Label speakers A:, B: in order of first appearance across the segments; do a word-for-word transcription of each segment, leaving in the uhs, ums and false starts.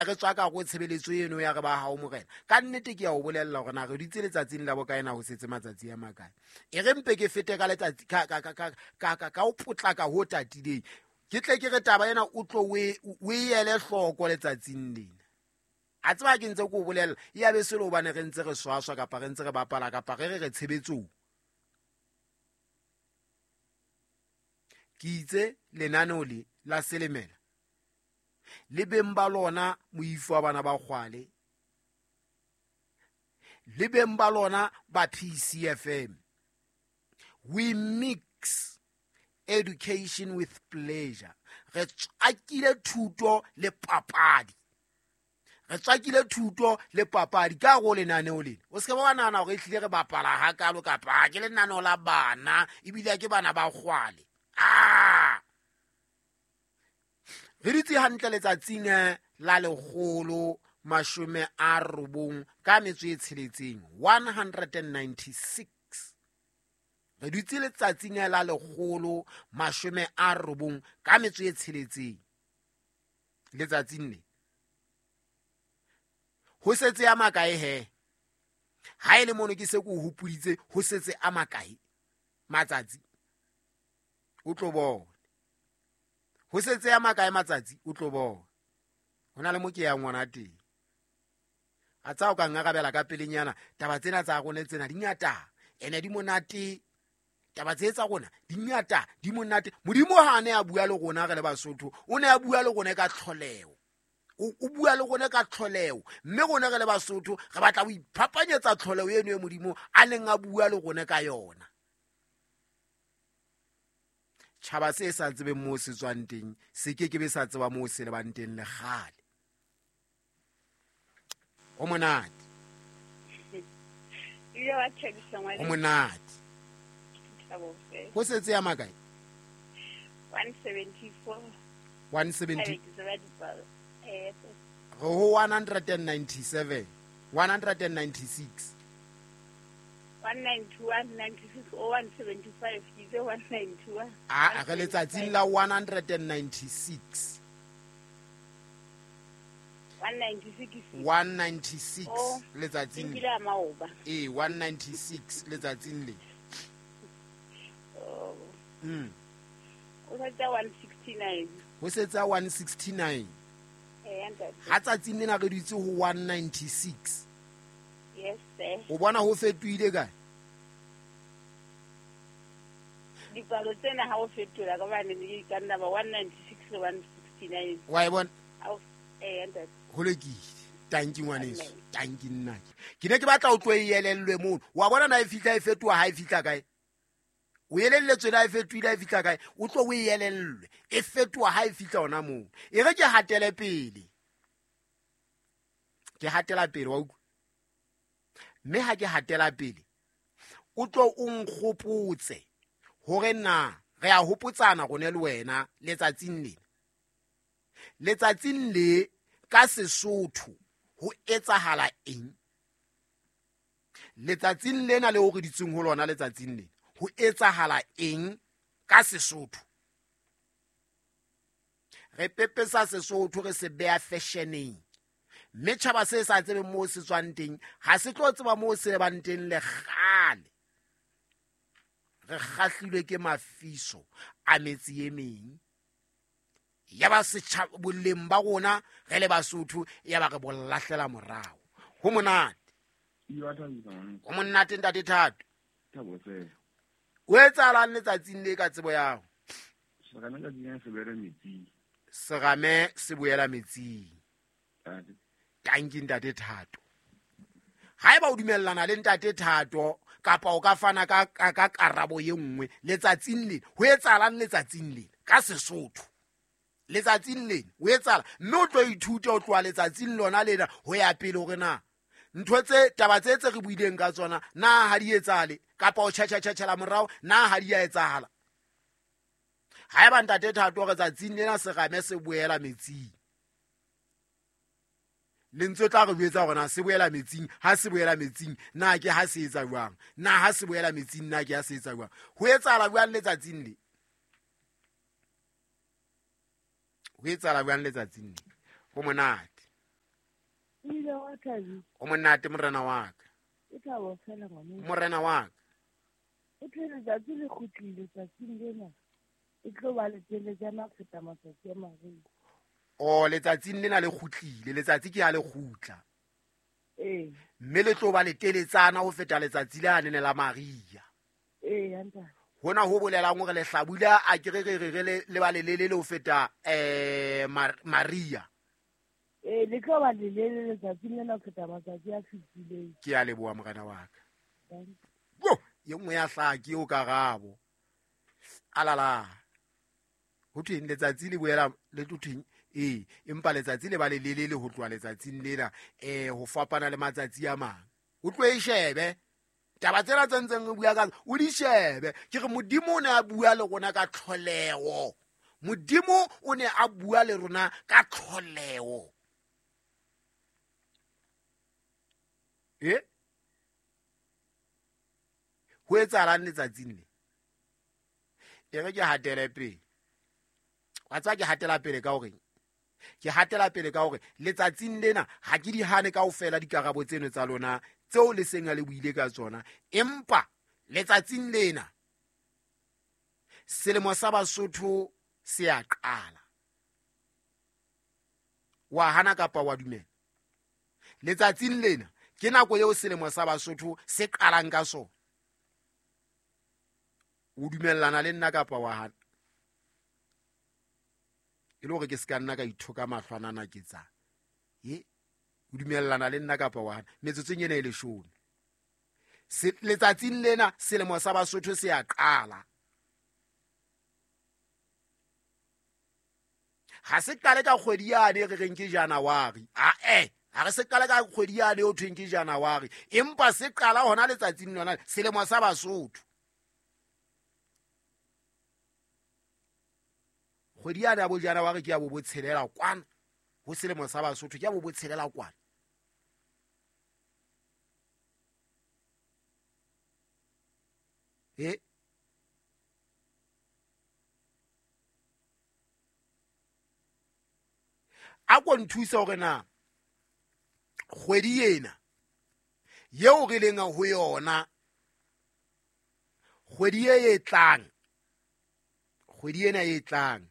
A: Re tswa ka go tshebeletso eno ya re ba hao morena. Ka nnete ke ya o bolella hore na re dutse letsatsing la bokae na ho setse matsatsi a makae. E re mpe ke fete ka letsatsi ka ka ka ka ka ka ka o potlaka ho tatileng. Ke tle ke re taba ena o tlo o e o e ele hloko letsatsing lena. A tseba ke ntse ke o bolella ya be selo hobane re ntse re swaswa kapa re ntse re bapala kapa re re re tshebetsong. Ke itse lenaneo le la Selemela le beng ba lona moifo wa bana ba kgwale, le beng ba lona ba P C F M. We mix education with pleasure. Re tswakile thuto le papadi. Re tswakile thuto le papadi ka go lenaneo lena. O se ke wa nahana hore ehlile re bapala hakalo kapa ke lenaneo la bana ebile ke bana ba kgwale. Ah! Re dutse hantle letsatsing la lekgolo mashome a robong ka metso e tsheletseng, one hundred and ninety-six. Re dutse letsatsing la lekgolo mashome a robong ka metso e tsheletseng letsatsing le. Ho setse a makae he? Ha e le mono ke se ke o hopoditse ho setse a makae matsatsi? O tlo bona. Ho setse a makae matsatsi o tlo bona. Ho na le mo ke yang ngwana teng. A tsa o ka ngarabela ka pelenyana taba tsena tsa rona tsena di ngata ene di monate. Taba tse tsa rona di ngata di monate. Modimo ha ne a bua le rona re le Basotho, o ne a bua le rona ka tlholeho. O, o bua le rona ka tlholeho, mme rona re le Basotho re batla ho iphapanyetsa tlholeho eno e Modimo a neng a bua le rona ka yona. Tjhaba se sa tsebeng moo se tswang teng se ke ke be sa tseba moo se lebang teng le kgale. Ho monate.
B: Ile wa thabisa ngwana.
A: Ho monate. Ho setse ya makae?
B: one seventy-four.
A: one seventy.
B: Ke tseba dipalo. Eh,
A: Re ho one hundred and ninety-seven. one hundred and ninety-six.
B: one ninety-one, ninety-six, oh, one seventy-five. Ke itse one ninety-one.
A: Ah, re letsatsing la one hundred and ninety-six.
B: one ninety-six.
A: one ninety-six
B: Oh,
A: letsatsing
B: ke
A: le.
B: nkile a maoba.
A: Eh, one ninety-six letsatsing le.
B: Oh.
A: Mm.
B: O setse one sixty-nine.
A: Ho setse one sixty-nine.
B: Eh, ntate.
A: Ha tsatsing lena re dutse ho one ninety-six.
B: Yes, sir.
A: O bona ho fetohile kae?
B: Dipalo tsena ha o fetola ka bane di ka nna ba one ninety-six le one sixty-nine.
A: Wa e bona?
B: Ha o, eh, ntate.
A: Ho lokile. Tanki ngwaneso, tanki nna. Ke ne ke batla o tlo e elellwe mono. Wa bona na e fihla e fetoha ha e fihla kae? O elelletswe na e fetohile ha e fihla kae? O tlo o e elellwe. E fetoha ha e fihla hona moo. E re ke hatele pele. Ke hatela pele wa utlwa? Mme ha ke hatela pele, o tlo o nkgopotse hore na re a hopotsana rone le wena letsatsing lena. Letsatsing le ka Sesotho ho etsahala eng? Letsatsing lena le o re ditseng ho lona letsatsing lena, ho etsahala eng ka Sesotho? Re pepesa Sesotho re se beha fashioneng. Mme tjhaba se sa tsebeng moo se tswang teng, ha se tlo tseba moo se lebang teng le kgale. Re kgahlilwe ke mafiso a metse e meng. Ya ba setjhaba boleng ba rona re le Basotho ya ba re bo lahlela morao. Ho monate. Ho monate ntate Thato.
C: Thabo se.
A: O etsahalang letsatsing le ka tsebo ya hao?
C: Serame ka tsing se boela metsing.
A: Serame se boela metsing.
C: Ntate.
A: Tanki ntate Thato. Haeba o dumellana le ntate Thato kapa o ka fana ka, ka, ka karabo e nngwe letsatsing le, ho etsahalang letsatsing le ka Sesotho? Letsatsing le ho etsahala, mme o tlo ithuta ho tloha letsatsing lona lena ho ya pele hore na ntho tse taba tse tse re buileng ka tsona na ha di etsahale kapa o tjhetjha-tjhetjhela morao na ha di a etsahala. Haeba ntate Thato re tsatsing lena serame se boela metsing, lentswe tla re jwetsa hore na se boela metsing, ha se boela metsing na ke ha se etsa jwang, na ha se boela metsing na ke ha se etsa jwang. Ho etsahala jwang letsatsing le? Ho etsahala jwang letsatsing le? Ho monate.
B: Ebile wa thabisa.
A: O monate morena wa ka.
B: E thabo fela ngwane.
A: Morena wa ka.
B: O thwe letsatsi le kgutlile tsatsing lena. E tlo ba leteletsana ho feta matsatsi a mariha.
A: O letsatsing lena le kgutlile, letsatsi ke ha le kgutla.
B: Ee.
A: Mme le tlo ba leteletsana ho feta letsatsi le nene la mariha.
B: Ee, ntate.
A: Hona ho bolelang hore lehlabula a ke re re re le le ba lelele ho feta eh mariha.
B: Ee, le tlo ba lelele letsatsing lena ho feta matsatsi a fetileng.
A: Ke a leboha morena wa ka. Wo, ye nngwe ya hlaha ke eo karabo. Alala. Ho thweng letsatsi le boela le tlo thweng? Ee, empa letsatsi le ba lelele ho tloha letsatsing lena eh ho fapana le matsatsi a mang. O tlo e shebe. Taba tsena tse ntseng re bua ka o di shebe. Ke re Modimo o ne a bua le rona ka tlholeho. Modimo o ne a bua le rona ka tlholeho. Eh? Ho etsahalang letsatsing le? E re ke hatele pele. Wa tseba ke hatela pele ka hore ke hatela pele ka hore letsatsing lena ha ke di hane kaofela dikarabo tseno tsa lona tseo le seng le buile ka tsona, empa letsatsing lena selemo sa Basotho se a qala. Wa hana kapa wa dumela? Letsatsing lena ke nako eo selemo sa Basotho se qalang ka sona. O dumellana le nna kapa wa hana? E le hore ke se ka nna ka ithoka mahlwanana ke tsa. E o dumellana le nna kapa wa hana? Metsotsong ena e leshome. Se letsatsing lena selemo sa Basotho se a qala. Ha se qale ka kgwedi yane re reng ke January. A eh, ha re se qale ka kgwedi yane o thweng ke January, empa se qala hona letsatsing lona selemo sa Basotho. Kgwedi yane ya bo January ke ya bo botshelela kwana ho selemo sa Basotho, ke ya bo botshelela kwana. E a ko nthusa hore na kgwedi ena yeo re leng ho yona, kgwedi e e tlang, kgwedi ena e tlang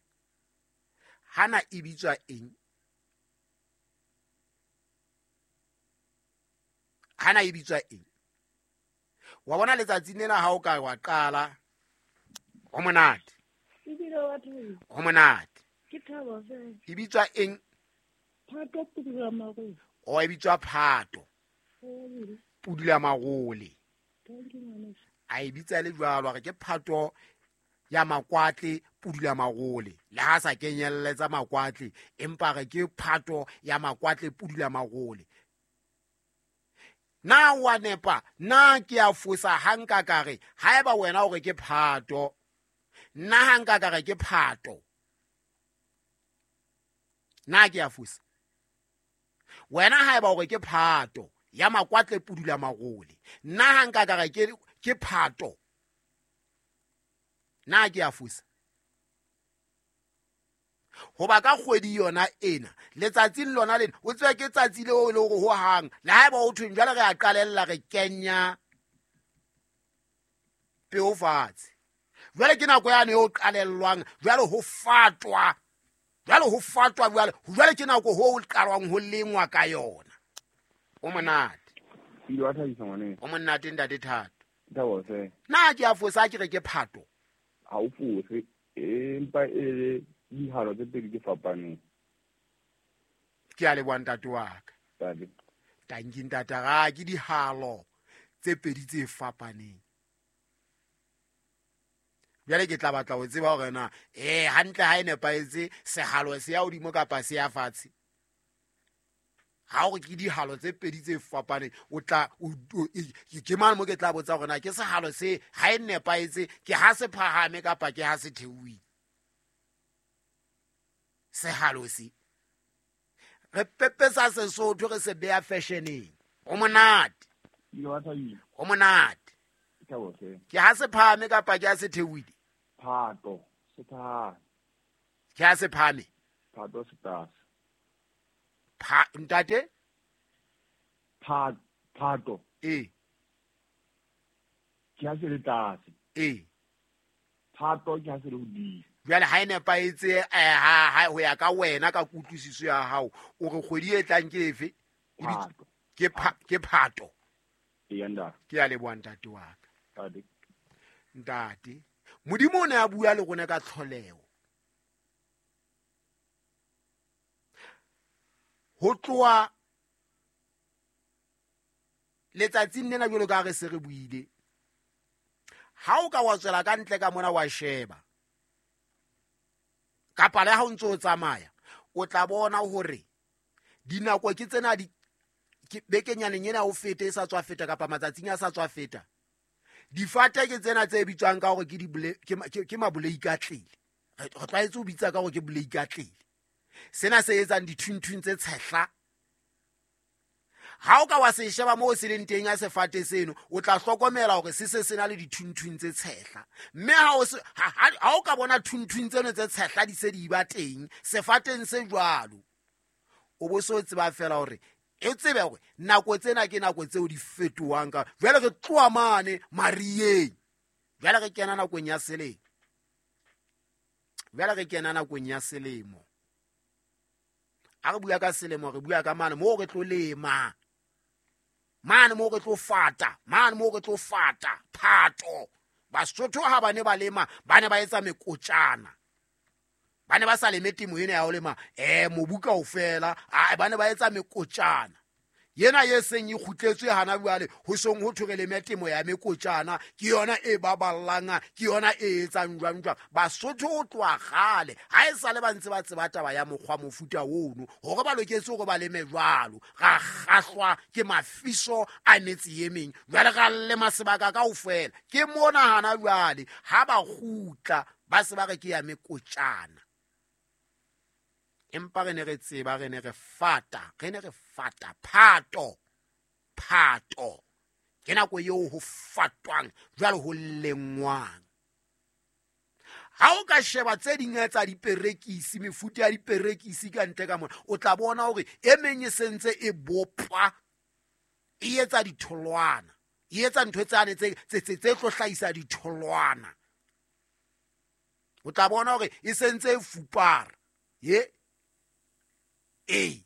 A: hana e bitswa eng? Hana e bitswa eng? Wa bona letsatsing lena ha o ka wa qala ho monate.
B: Ebile wa thabo.
A: Ho monate.
B: Ke thabo fela.
A: E bitswa eng?
B: Phato pudula marole.
A: O e bitswa Phato. Pudula marole. A e bitsa le jwalo hore ke Phato ya makwatle pudula marole. Le ha sa kenyelletsa makwatle, empa re ke Phato ya makwatle pudula marole. Na wa nepa, na ke a fosa ha nka ka re haeba wena o re ke Phato, nna ha nka ka re ke Phato, na ke a fosa? Wena haeba o re ke Phato ya makwatle pudula marole, nna ha nka ka re ke ke Phato, na ke a fosa? Hoba ka kgwedi yona ena letsatsing lona lena o tseba ke tsatsi leo e le hore ho hang le haeba o thweng jwale re a qalella re kenya peo fatshe. Jwale ke nako yane eo qalellwang, jwale ho fatwa, jwale ho fatwa, jwale jwale ke nako ho qalwang ho lengwa ka yona. O monate.
C: Ile wa thabisa ngwane.
A: O monate ntate Thato.
C: Thabo se.
A: Na ke a fosa ke re ke Phato?
C: Ha o fose, empa e dihalo tse pedi di fapaneng.
A: Ke a leboha ntate wa ka.
C: Tadi.
A: Tanki ntate ga ke dihalo tse pedi tse fapaneng. Jwale ke tla batla ho tseba hore na eh hantle ha e nepahetse sehalo se ya hodimo kapa se ya fatshe. Ha o re ke dihalo tse pedi tse fapaneng, o tla ke mang mo ke tla botsa hore na ke sehalo se ha e nepahetse ke ha se phahame kapa ke ha se theohile. Sehalo se re pepesa Sesotho re se beha fashioneng. O monate. O monate. Ke ha se phahame kapa ke ha se theohile?
C: Phato se phahame.
A: Ke ha se phahame?
C: Phato se tlase.
A: Pa ntate?
C: Pha phato.
A: Ee.
C: Ke ha se le tlase.
A: Ee.
C: Phato ke ha se le hodimo.
A: Jwale ha e nepahetse eh, ha ha ho ya ka wena ka kutlwisiso ya hao o re kgwedi e tlang ke efe? E bitswa-
C: Phato.
A: Ke pha, ke phato.
C: Eya ntate.
A: Ke a leboha ntate wa ka.
C: Ntate.
A: Ntate, Modimo o ne a bua le rona ka tlholeho. Ho tloha letsatsing lena jwalo ka ha re se re buile, ha o ka wa tswela ka ntle ka mona wa sheba, kapa le ha o ntso o tsamaya, o tla bona hore dinako ke tsena di ke bekenyaneng ena o fete e sa tswa feta kapa matsatsing a sa tswa feta. Difate ke tsena tse bitswang ka hore ke dibole, ke ma-, ke, ke maboleikatlele. Re, re tlwaetse ho bitsa ka hore ke boleikatlele. Sena se etsang dithunthung tse tshehla. Ha o ka wa se sheba moo se leng teng ya sefate seno, o tla hlokomela hore se se se na le dithunthung tse tshehla. Mme ha o se, ha, ha, ha o ka bona thunthung tseno tse tshehla di se di ba teng sefateng se jwalo, o bo so tseba fela hore e tsebe hore nako tsena ke nako tseo di fetohang ka. Jwale re tloha mane mariyeng, jwale re kena nakong ya selemo. Jwale re kena nakong ya selemo. Ha re bua ka selemo, re bua ka mane moo re tlo lema, mane moo re tlo fata, mane moo re tlo fata phato. Basotho ha ba ne ba lema, ba ne ba etsa mekotjana. Ba ne ba sa leme temo ena ya ho lema, eh, mobu kaofela, ah, ba ne ba etsa mekotjana. Yena ye seng e kgutletswe hana jwale, ho seng ho thwe re leme temo ya mekotjana, ke yona e baballang, ke yona e etsang jwang jwang. Basotho ho tloha kgale, ha e sale ba ntse ba tseba taba ya mokgwa mofuta ono, hore ba loketse hore ba leme jwalo. Ra kgahlwa ke mafiso a metse e meng, jwale ra lema sebaka kaofela. Ke mona hana jwale, ha ba kgutla, ba se ba re ke ya mekotjana. Empa re ne re tseba, re ne re fata, re ne re fata phato, phato. Ke nako eo ho fatwang, jwale ho lengwang. Ha o ka sheba tse ding tsa diperekisi, mefuta ya diperekisi ka ntle ka mona, o tla bona hore e meng e sentse e bopwa, e etsa ditholwana, e etsa ntho tsane tse, tse, tse, tse tlo hlahisa ditholwana. O tla bona hore e sentse e fupara. Ye? Ee.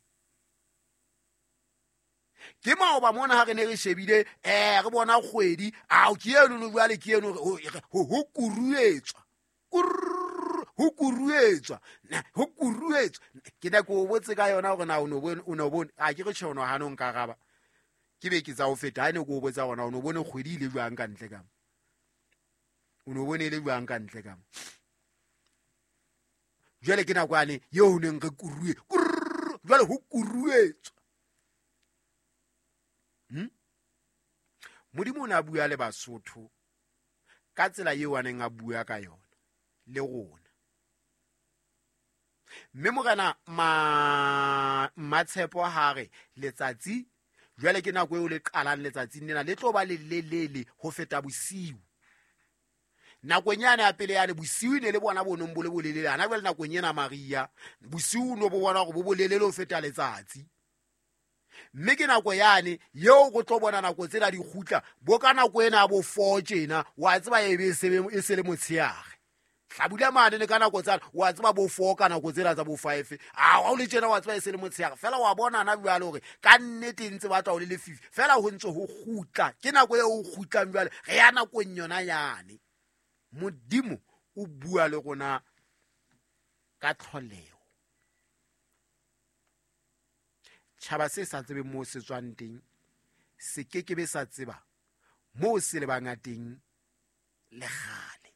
A: Ke maoba mona ha re ne re shebile, eh, re bona kgwedi, ao, ke eno no jwale, ke eno, ho, ho, ho kuruetswa. Kurr, ho kuruetswa. Na, ho kuruetswa. Ke ne ke o botse ka yona hore na o no bone, o no bone. A ke re tjhe, o no hana ho nkaraba. Ke be ke tsa ho feta, ha ne ke o botsa hore na o no bone kgwedi e le jwang ka ntle ka mo. O no bone e le jwang ka ntle ka mo. Jwale ke nako yane eo ho neng re kurue, kurr, jwale ho kuruetswa. Hmm? Modimo o ne a bua le Basotho ka tsela eo a neng a bua ka yona le rona. Mme morena ma-, Mmatshepo ha re letsatsi jwale ke nako eo le qalang letsatsing lena, le tlo ba le lelele ho feta bosiu. Nakong yane ya pele yane bosiu ne le bona bo nong bo le bolelele, hana jwale nakong ena Maria bosiu no bo bona hore bo bolelele ho feta letsatsi. Mme ke nako yane eo go tlo bona nako tsena di kgutla, bo ka nako ena ya bo four tjena, wa tseba e be e se be, e se le motshehare. Hlabula mane le ka nako tsane, wa tseba bo four ka nako tsena tsa bo five. Ah, ha o le tjena wa tseba e se le motshehare. Feela wa bona hana jwale hore ka nnete ntse ba tla o le lefifi. Feela ho ntse ho kgutla. Ke nako eo ho kgutlang jwale, re ya nakong yona yane. Modimo o bua le rona ka tlholeho. Tjhaba se sa tsebeng moo se tswang teng, se ke ke be sa tseba moo se lebang teng le kgale.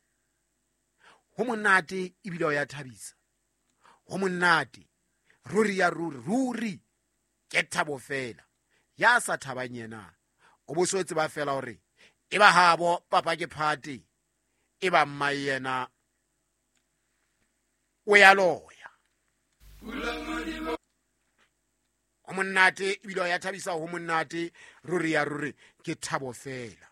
A: Ho monate ebile ho ya thabisa. Ho monate, ruri ya ruri, ruri ke thabo fela. Ya sa thabang yena, o bo so tseba fela hore e ba habo papa ke phate, e ba mma yena o ya loya. Ho monate ebile ho ya thabisa, ho monate ruri ya ruri ke thabo fela.